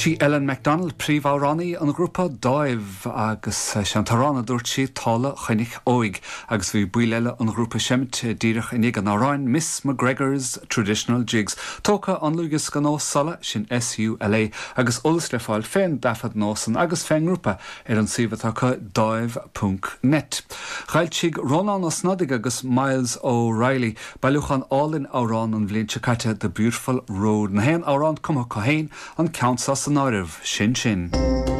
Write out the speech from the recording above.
Sí Ellen McDonald príomhamhránaí an ghrúpa Dáimh agus sé an t-amhrán a dúirt sí Tála Chnoic Óig agus bhí baill eile an ghrúpa ag seimint díreach i ndiaidh an amhráin Miss McGregor's Traditional Jigs. Tógtha ón dlúthdhiosca nua Sula, sin S-U-L-A, agus eolas le fáil fén dtaifead nua san agus fén ngrúpa ar an suíomh atá acu Dáimh ponc net. Dh'fhoilsigh Rónán Ó Snodaigh agus Myles O'Reilly Bailiúchán álainn amhrán an bhliain seo caite The Beautiful Road. Na haon amhrán cumtha acu féin, an ceann seo san áireamh, Sin Sin.